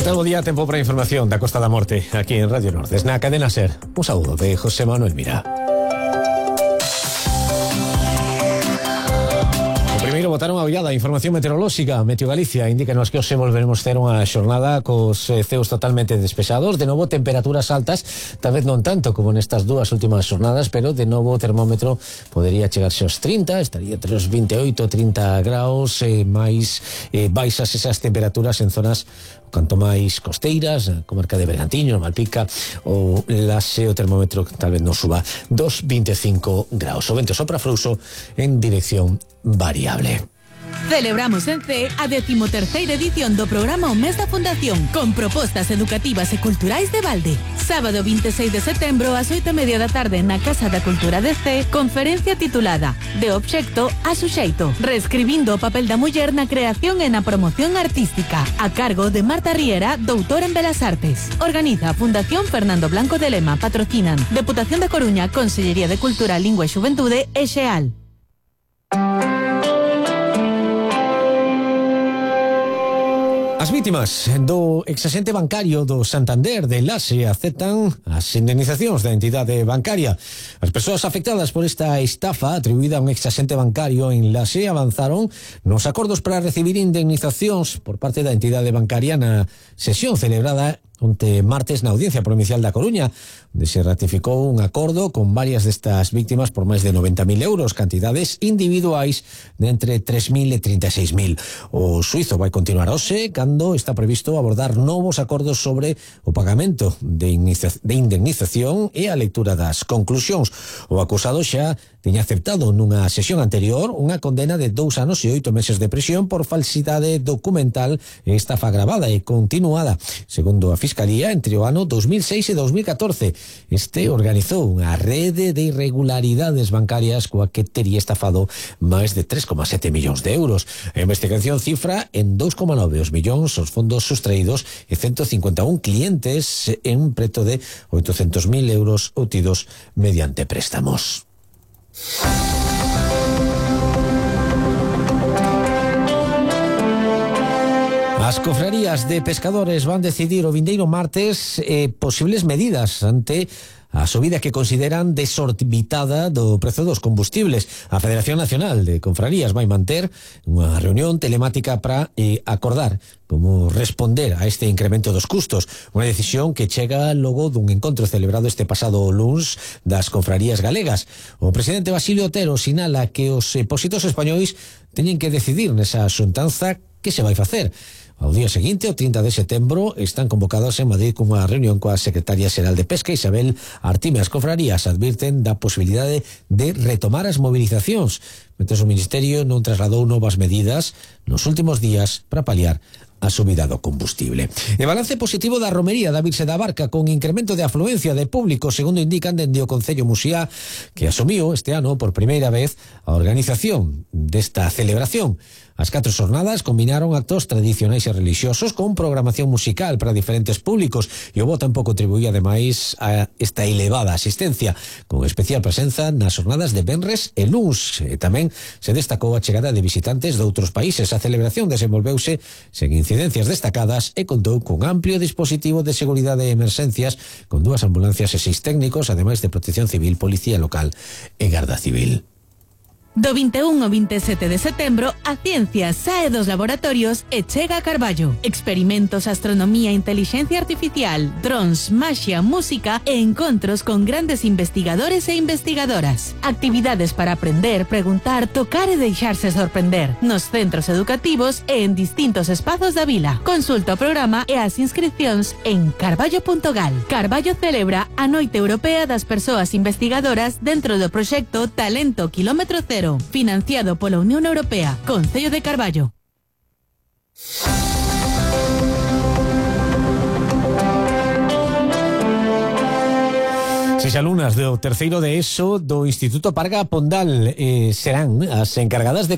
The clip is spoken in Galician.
Novo día, tempo para a información da Costa da Morte, aquí en Radio Nordes, na cadena SER. Un saúdo de José Manuel Mira. Primeiro botaron a ollada a información meteorolóxica. Meteo Galicia indícanos que hoxe volveremos ter unha xornada cos ceos totalmente despexados. De novo temperaturas altas, tal vez non tanto como nestas dúas últimas xornadas, pero de novo o termómetro podería chegarse aos 30, estaría entre os 28 e 30 graus, máis baixas esas temperaturas en zonas canto máis costeiras, comarca de Bergantiños, Malpica ou Laxe. O termómetro tal vez non suba dos 25 graus. O vento sopra frouxo en dirección variable. Celebramos en CEE a 13ª edición do programa O Mes da Fundación, con propostas educativas e culturais de balde. Sábado 26 de setembro ás 8:30 da tarde na Casa da Cultura de CEE, conferencia titulada De obxecto a suxeito, reescribindo o papel da muller na creación e na promoción artística, a cargo de Marta Riera, doutora en Belas Artes. Organiza a Fundación Fernando Blanco de Lema, patrocinan Deputación da Coruña, Consellería de Cultura, Lingua e Xuventude e XEAL. As vítimas do exaxente bancario do Santander de Laxe aceptan as indemnizacións da entidade bancaria. As persoas afectadas por esta estafa atribuída a un exaxente bancario en Laxe avanzaron nos acordos para recibir indemnizacións por parte da entidade bancaria na sesión celebrada onte martes na Audiencia Provincial da Coruña, onde se ratificou un acordo con varias destas víctimas por máis de 90.000 euros, cantidades individuais de entre 3.000 e 36.000. O suizo vai continuar hoxe, cando está previsto abordar novos acordos sobre o pagamento de indemnización e a lectura das conclusións. O acusado xa tiña aceptado nunha sesión anterior unha condena de 2 anos e 8 meses de prisión por falsidade documental e estafa agravada e continuada. Segundo a Fiscalía, entre o ano 2006 e 2014, este organizou unha rede de irregularidades bancarias coa que tería estafado máis de 3,7 millóns de euros. A investigación cifra en 2,9 os millóns os fondos sustraídos e 151 clientes en preto de 800.000 euros obtidos mediante préstamos. As cofrarías de pescadores van decidir o vindeiro martes posibles medidas ante a subida que consideran desorbitada do prezo dos combustibles. A Federación Nacional de Confrarías vai manter unha reunión telemática para acordar como responder a este incremento dos custos, unha decisión que chega logo dun encontro celebrado este pasado luns das confrarías galegas. O presidente Basilio Otero sinala que os pósitos españois teñen que decidir nesa xuntanza que se vai facer. Ao día seguinte, o 30 de setembro, están convocados en Madrid cunha reunión coa secretaria xeral de Pesca, Isabel Artime. As confrarías advirten da posibilidade de retomar as movilizacións, mentres o Ministerio non trasladou novas medidas nos últimos días para paliar a subida do combustible. E balance positivo da romería da Virxe da Barca, con incremento de afluencia de público, segundo indican dende o Concello Muxía, que asumiu este ano por primeira vez a organización desta celebración. As 4 xornadas combinaron actos tradicionais e relixiosos con programación musical para diferentes públicos, e o bo tempo contribuía ademais a esta elevada asistencia, con especial presenza nas xornadas de venres e luns. E tamén se destacou a chegada de visitantes de outros países. A celebración desenvolveuse sen incidencias destacadas e contou cun amplio dispositivo de seguridade e emerxencias, con 2 ambulancias e 6 técnicos, ademais de Protección Civil, Policía Local e Garda Civil. Do 21 ao 27 de setembro, a ciencia sae dos laboratorios e chega a Carballo. Experimentos, astronomía, inteligencia artificial, drons, maxia, música e encontros con grandes investigadores e investigadoras. Actividades para aprender, preguntar, tocar e deixarse sorprender nos centros educativos e en distintos espazos da vila. Consulta o programa e as inscripcións en carballo.gal. Carballo celebra a Noite Europea das Persoas Investigadoras dentro do proxecto Talento Kilómetro Cero, financiado pola Unión Europea. Concello de Carballo. Seis alumnas do terceiro de ESO do Instituto Parga Pondal serán as encargadas de